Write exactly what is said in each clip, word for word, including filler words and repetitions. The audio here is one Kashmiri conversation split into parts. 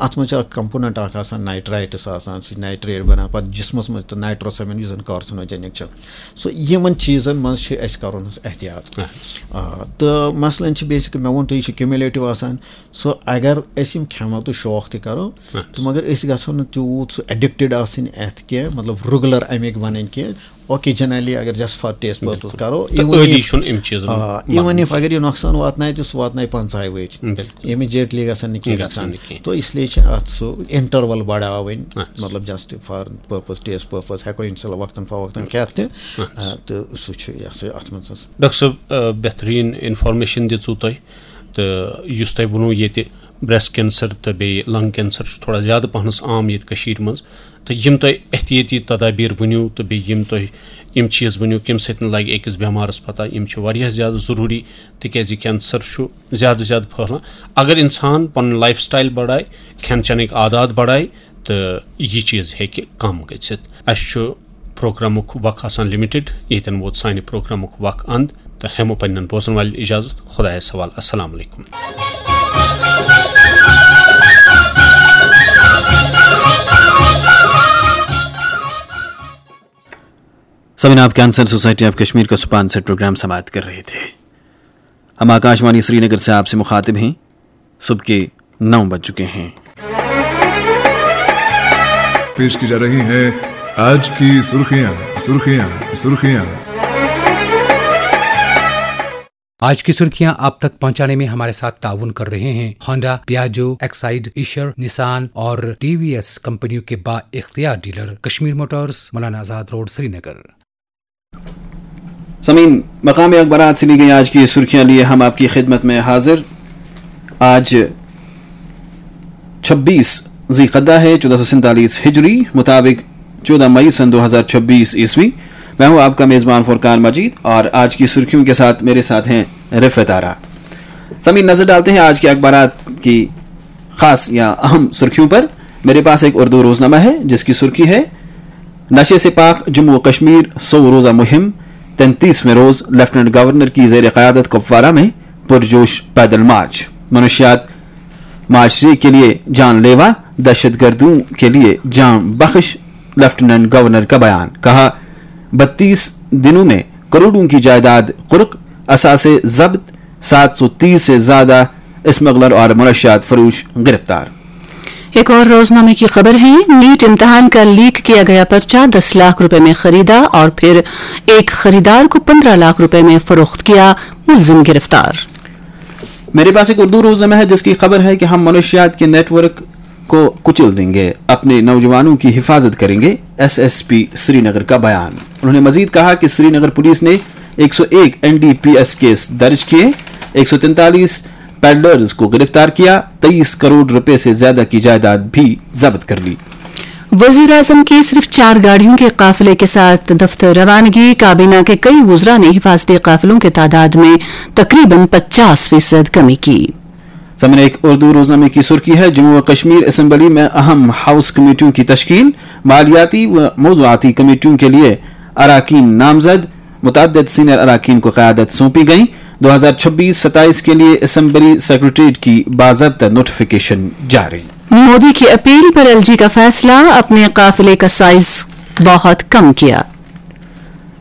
اَتھ منٛز چھِ اَکھ کمپوننٹ اَکھ آسان، نائٹرائٹس آسان، سُہ چھُ نائٹریٹ بَنان پَتہٕ جسمَس منٛز تہٕ نائٹروسیمین، یُس زَن کارسِنوجینک چھُ۔ سو یِمَن چیٖزَن منٛز چھِ اَسہِ کَرُن حظ احتیاط۔ آ، تہٕ مثلاً چھِ بیسک، مےٚ ووٚن تۄہہِ، یہِ چھُ کیومولیٹو آسان۔ سو اگر أسۍ یِم کھٮ۪مو تہٕ شوق تہِ کَرو، تہٕ مگر أسۍ گژھو نہٕ تیوٗت سُہ ایڈکٹڈ آسٕنۍ اَتھ کینٛہہ، مطلب ریگولر اَمِکۍ بَنٕنۍ کینٛہہ۔ اوکیجنلی اگر جسٹ فار ٹیسٹ پرپز بِلکُل۔ کَرو، تہٕ even عٲدی if چھُنہٕ اَمہِ چیٖزَن آ، even منٛز۔ If اگر یہِ نۄقصان واتنایہِ تہٕ سُہ واتنایہِ پنٛژاہہِ ؤہرۍ۔ بِلکُل۔ امیجیٹلی گژھن نہٕ کینٛہہ گژھن نۄقصان۔ نہٕ کینٛہہ۔ تو اس لیے چھِ اَتھ سُہ انٹرول بڑاوٕنۍ، اچھا۔ مطلب just for purpose, test purpose ہٮ۪کو انشاء اللہ وقتاً فوقتاً کھٮ۪تھ تہِ۔ اچھا۔ آ، تہٕ سُہ چھُ یہِ ہسا اَتھ منٛز حظ۔ ڈاکٹر صٲب، آ، بہتریٖن انفارمیشن دِژوٕ تۄہہِ، تہٕ یُس تۄہہِ ووٚنوٕ ییٚتہِ بریسٹ کینسر تہٕ بیٚیہِ لنگ کینسر چھُ تھوڑا زیادٕ پہنس عام ییٚتہِ کٔشیٖرِ منٛز، تہٕ یِم تۄہہِ احتیٲطی تدابیر ؤنِو تہٕ بیٚیہِ یِم تۄہہِ یِم چیٖز ؤنِو، کَمہِ سۭتۍ لگہِ أکِس بٮ۪مارَس پتہ، یِم چھِ واریاہ زیادٕ ضروٗری، تِکیازِ کینسر چھُ زیادٕ زیادٕ پھٔہلان۔ اگر اِنسان پنُن لایف سٹایل بڑایہِ، کھٮ۪ن چٮ۪نٕکۍ عادات بڑایہِ، تہٕ یہِ چیٖز ہیٚکہِ کم گٔژھِتھ۔ اَسہِ چھُ پروگرامُک وق آسان لِمِٹِڈ، ییٚتٮ۪ن ووت سانہِ پروگرامُک وق اند، تہٕ ہٮ۪مو پننٮ۪ن بوزن والٮ۪ن اجازت۔ خدایس حوالہٕ۔ السلام علیکم۔ سامعین، آپ کینسر سوسائٹی آف کشمیر کا سپانسر پروگرام سماعت کر رہے تھے۔ ہم آکاشوانی سری نگر سے آپ سے مخاطب ہیں۔ صبح کے نو بج چکے ہیں۔ پیش کی جا رہی ہیں آج کی سرخیاں، سرخیاں، سرخیاں۔ آج کی سرخیاں آپ تک پہنچانے میں ہمارے ساتھ تعاون کر رہے ہیں ہونڈا، پیاجو، ایکسائیڈ، ایشر، نسان اور ٹی وی ایس کمپنیوں کے با اختیار dealer Kashmir Motors, Maulana Azad road, سری نگر۔ سامعین، مقامی اخبارات سے لی گئی آج کی سرخیاں لیے ہم آپ کی خدمت میں حاضر۔ آج چھبیس ذی قعدہ ہے، چودہ سو سینتالیس ہجری، مطابق چودہ مئی سن دو ہزار چھبیس عیسوی۔ میں ہوں آپ کا میزبان فرقان مجید اور آج کی سرخیوں کے ساتھ میرے ساتھ ہیں رفعت آرا۔ سامعین، نظر ڈالتے ہیں آج کے اخبارات کی خاص یا اہم سرخیوں پر۔ میرے پاس ایک اردو روزنامہ ہے جس کی سرخی ہے، نشے سے پاک جموں و کشمیر سو روزہ مہم، تینتیسویں روز لیفٹیننٹ گورنر کی زیر قیادت کپوارہ میں پرجوش پیدل مارچ، منشیات معاشرے کے لیے جان لیوا، دہشت گردوں کے لیے جان بخش، لیفٹیننٹ گورنر کا بیان، کہا بتیس دنوں میں کروڑوں کی جائیداد قرق، اثاثے ضبط، سات سو تیس سے زیادہ اسمگلر اور منشیات فروش گرفتار۔ ایک اور روزنامے کی خبر ہے، نیٹ امتحان کا لیک کیا گیا پرچہ، دس لاکھ روپے میں خریدا اور پھر ایک خریدار کو پندرہ لاکھ روپے میں فروخت کیا، ملزم گرفتار۔ میرے پاس ایک اردو روزنامہ ہے جس کی خبر ہے کہ ہم منشیات کے نیٹ ورک کو کچل دیں گے، اپنے نوجوانوں کی حفاظت کریں گے، ایس ایس پی سری نگر کا بیان۔ انہوں نے مزید کہا کہ سری نگر پولیس نے ایک سو ایک N D P S case درج کیے، ایک سو تینتالیس پیڈلرز کو گرفتار کیا، تئیس کروڑ روپے سے زیادہ کی جائیداد بھی ضبط کر لی۔ وزیر اعظم کی صرف چار گاڑیوں کے قافلے کے ساتھ دفتر روانگی، کابینہ کے کئی وزراء نے حفاظتی قافلوں کے تعداد میں تقریباً پچاس فیصد کمی کی۔ سامعین، ایک اردو روزنامے کی سرخی ہے، جموں و کشمیر اسمبلی میں اہم ہاؤس کمیٹیوں کی تشکیل، مالیاتی و موضوعاتی کمیٹیوں کے لیے اراکین نامزد، متعدد سینئر اراکین کو قیادت سونپی گئی، دو ہزار چھبیس ستائیس کے لیے اسمبلی سیکرٹریٹ کی باضابطہ نوٹیفکیشن جاری۔ مودی کی اپیل پر ایل جی کا فیصلہ، اپنے قافلے کا سائز بہت کم کیا۔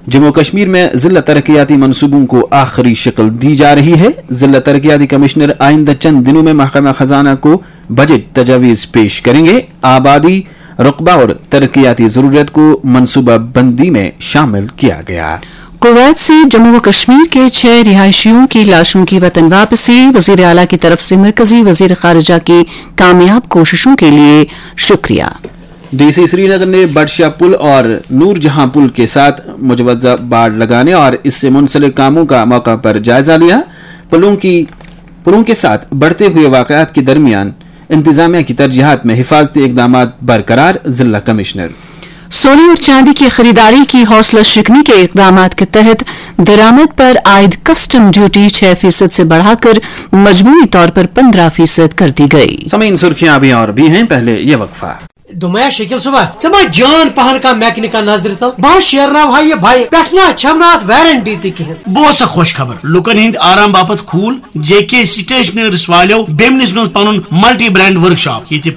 جموں و کشمیر میں ضلع ترقیاتی منصوبوں کو آخری شکل دی جا رہی ہے، ضلع ترقیاتی کمشنر آئندہ چند دنوں میں محکمہ خزانہ کو بجٹ تجاویز پیش کریں گے، آبادی، رقبہ اور ترقیاتی ضرورت کو منصوبہ بندی میں شامل کیا گیا۔ کویت سے جموں و کشمیر کے چھ رہائشیوں کی لاشوں کی وطن واپسی، وزیر اعلیٰ کی طرف سے مرکزی وزیر خارجہ کی کامیاب کوششوں کے لیے شکریہ۔ ڈی سی سری نگر نے بڈشاہ پل اور نور جہاں پل کے ساتھ مجوزہ باڑ لگانے اور اس سے منسلک کاموں کا موقع پر جائزہ لیا۔ پلوں کی پلوں کے ساتھ بڑھتے ہوئے واقعات کے درمیان انتظامیہ کی ترجیحات میں حفاظتی اقدامات برقرار، ضلع کمشنر۔ سونے اور چاندی کی خریداری کی حوصلہ شکنی کے اقدامات کے تحت درآمد پر عائد کسٹم ڈیوٹی چھ فیصد سے بڑھا کر مجموعی طور پر پندرہ فیصد کر دی گئی۔ سامعین، سرخیاں ابھی اور بھی ہیں، پہلے یہ وقفہ۔ دوٚپمَے شکیل صٲبا، ژٕ ما جان پہن کانٛہہ میکنکا نظرِ تل؟ بہٕ ہا شیرناوٕ ہا یہِ بایک، پٮ۪ٹھٕ نہ چھم نہٕ اتھ وارنٹی تہِ کِہیٖنۍ۔ بہٕ اوسا خۄش خبر، لُکن ہٕنٛدۍ آرام باپتھ کھوٗل جے کے سٹیشنریز والیو بیمنِس منٛز پنُن ملٹی برانڈ ورکشاپ، ییٚتہِ